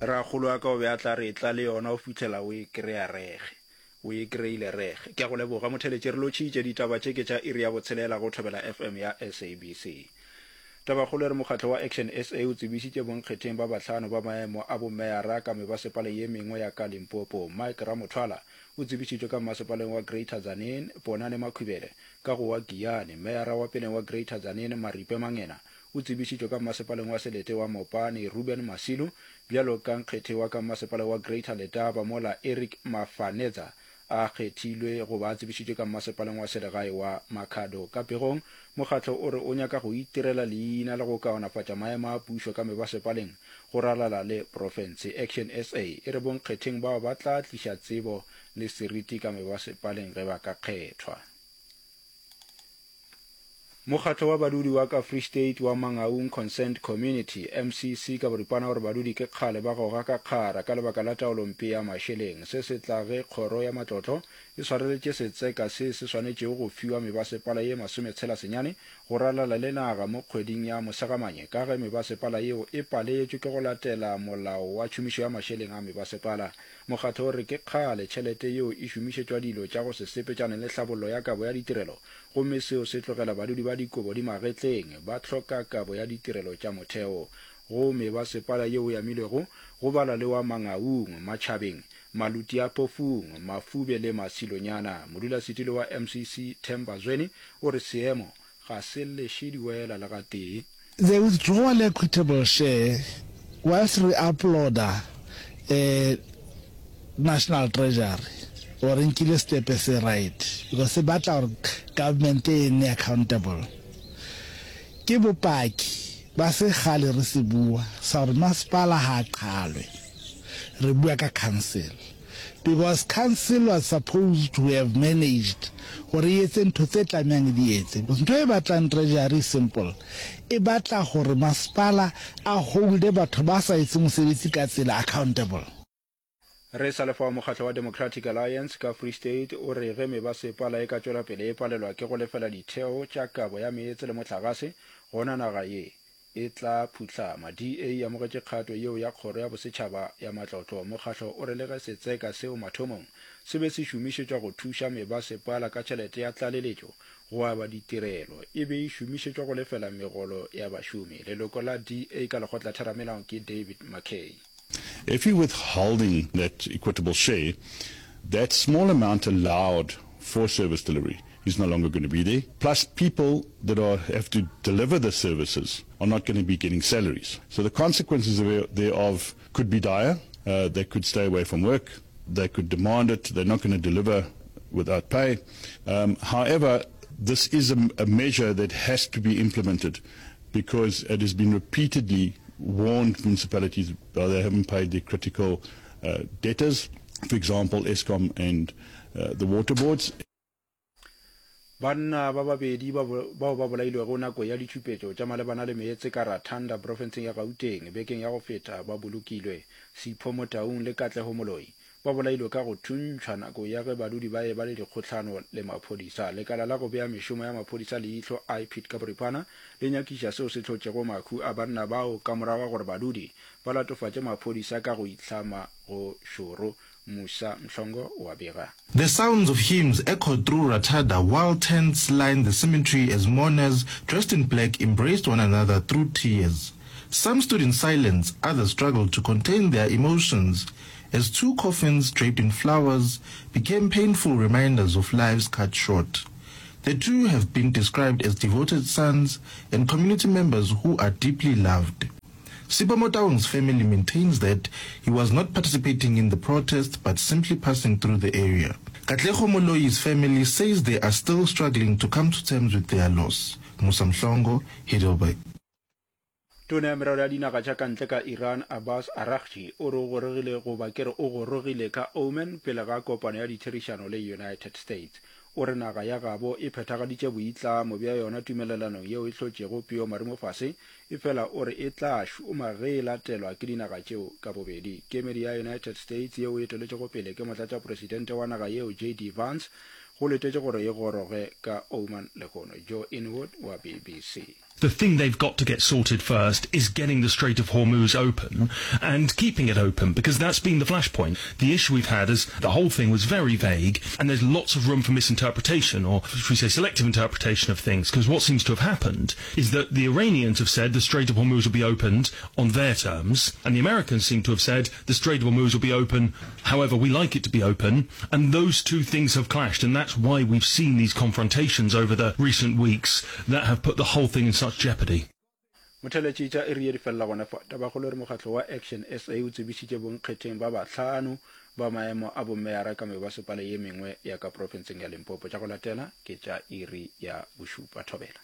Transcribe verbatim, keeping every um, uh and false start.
Rakgolo wa ka o be a tla re etla le yona o fihlela o e krea rege. O e kreile rege. Ke a go leboga motheletši re lotšhitše ditaba tše ke tša iri ya botshelela go Thobela F M ya S A B C. Tabakgolo e re mokgatlo wa Action S A o tsebišitše bonkgetheng ba bahlano ba maemo a bomeyara ka mebasepaleng ye mengwe ya ka Limpopo. Mike Ramothwala o tsebišitšwe ka mmasepaleng wa Greater Tzaneen, Ponane Makhubele ka go wa Giyani. Meyara wa peleng wa Greater Tzaneen, Maripe Mangena o tsebišitšwe ka mmasepaleng wa selete wa Mopani, Ruben Masilu bjalo ka nkgethe wa ka mmasepaleng wa Greater Letaba, mola Eric Mafanetza a kgethilwe goba a tsebišitšwe ka mmasepaleng wa selegae wa Makhado. Ka pegong, mokgatlo o re o nyaka go itirela leina le go kaonafatša maemo a pušo ka mebasepaleng go ralala le profense. Action S A e re bonkgetheng bao ba tla tliša tsebo le seriti ka mebasepaleng ge ba ka kgethwa. Mokgatlo wa badudi wa ka Free State wa Mangaung Concerned Community, M C C ka boripana, gore badudi ke kgale ba goga ka kgara ka lebaka la taolompe ya mašeleng. Se se tla ge kgoro ya matlotlo e swareletše setseka se se swanetšego go fiwa mebasepala ye masometshela senyane go ralala le naga mo kgweding ya Mosegamanye ka ge mebasepala yeo e paletšwe ke go latela molao wa tšhomišo ya mašeleng a mebasepala. Mokgatlo o re ke kgale tšhelete yeo e šomišetšwa dilo tša go se sepetšane le hlabollo ya kabo ya ditirelo gomme seo se tlogela badudi ba dikobo di magetleng ba hloka kabo ya ditirelo tša motheo. Go mebasepala yeo e amilwego go bala le wa Mangaung, Matšhabeng, Maluti-a-Phofung, Mafube le Masilonyana. Modulasetilo wa M C C Themba Zweni o re seemo ga se leše diwela le gatee. The withdrawal equitable share, whilst re applauda eh, National Treasury gore nkile step se right because se batla gore government e nne accountable, ke bopaki ba se gale re se bua sa gore masepala ha a qhalwe. Re bua ka council because council was supposed to have managed gore e etse ntho tse tlamehang e di etse, because ntho e batlang Treasury simple, e batla gore masepala a holde batho ba sa etse mosebetsi ka tsela accountable. Re sa lefa, mokgatlo wa Democratic Alliance ka Free State o re ge mebasepala e ka tšwela pele e palelwa ke go lefela ditheo tša kabo ya meetse le mohlagase, gona naga ye e tla phuhlama. D A e amogetše kgato yeo ya kgoro ya bosetšhaba ya matlotlo. Mokgatlo o re le ge setseka seo mathomong se be se šomišetšwa go thuša mebasepala ka tšhelete ya tlaleletšo go aba ditirelo, e be e šomišetšwa go lefela megolo ya bašomi. Leloko la D A ka lekgotlatheramelao ke David McKay. If you're withholding that equitable share, that small amount allowed for service delivery is no longer going to be there. Plus, people that are have to deliver the services are not going to be getting salaries. So the consequences thereof could be dire. Uh, they could stay away from work. They could demand it. They're not going to deliver without pay. Um, however, this is a, a measure that has to be implemented because it has been repeatedly warned municipalities uh, they haven't paid their critical uh, debtors, for example, Eskom and uh, the water boards. Banna ba babedi bao ba bolailwego nako ya ditšhupetšo tša malebana le meetse ka Rathanda profenseng ya Gauteng bekeng ya go feta ba bolokilwe. Sipho Motaung le Katlego Moloi ba bolailwe ka go thuntšhwa nako ya ge badudi ba eba le dikgohlano le maphodisa. Lekala la go bea mešomo ya maphodisa leihlo, IPID ka boripana, le nyakiša seo se hlotšego mahu a banna bao ka morago ga gore badudi ba latofatše maphodisa ka go itlhama go šoro. Musa Mhlongo wa bega. The sounds of hymns echoed through Rathada while tents lined the cemetery as mourners dressed in black embraced one another through tears. Some stood in silence, others struggled to contain their emotions as two coffins draped in flowers became painful reminders of lives cut short. The two have been described as devoted sons and community members who are deeply loved. Sipho Motaung's family maintains that he was not participating in the protest but simply passing through the area. Katlego Moloi's family says they are still struggling to come to terms with their loss. Musa Mhlongo, Heidelberg. Tona ya merero ya dinaga tša ka ntle ka Iran Abbas Araghchi o re o gorogile goba ke re o gorogile ka Oman pele ga kopano ya ditherišano le United States. O re naga ya gabo e phethagaditše boitlamo bja yona tumelelanong yeo e hlotšego peo marumofase, efela o re e tla šoma ge e latelwa ke dinaga tšeo ka bobedi. Kemedi ya United States yeo e eteletšego pele ke motlatšapresidente wa naga yeo J D Vance go letetše gore e goroge ka Oman lehono. Joe Inwood wa B B C. The thing they've got to get sorted first is getting the Strait of Hormuz open and keeping it open, because that's been the flashpoint. The issue we've had is the whole thing was very vague, and there's lots of room for misinterpretation, or should we say selective interpretation of things, because what seems to have happened is that the Iranians have said the Strait of Hormuz will be opened on their terms, and the Americans seem to have said the Strait of Hormuz will be open however we like it to be open, and those two things have clashed, and that's why we've seen these confrontations over the recent weeks that have put the whole thing in such jeopardy. Motheletši tša iri ye di felela gona fa. Tabakgolo e re mokgatlo wa Action SA o tsebišitše bonkgetheng ba bahlano ba maemo a bomeyara ka mebasepala ye mengwe ya ka profenseng ya Limpopo. Tša go latela ke tša iri ya bošupa. Thobela.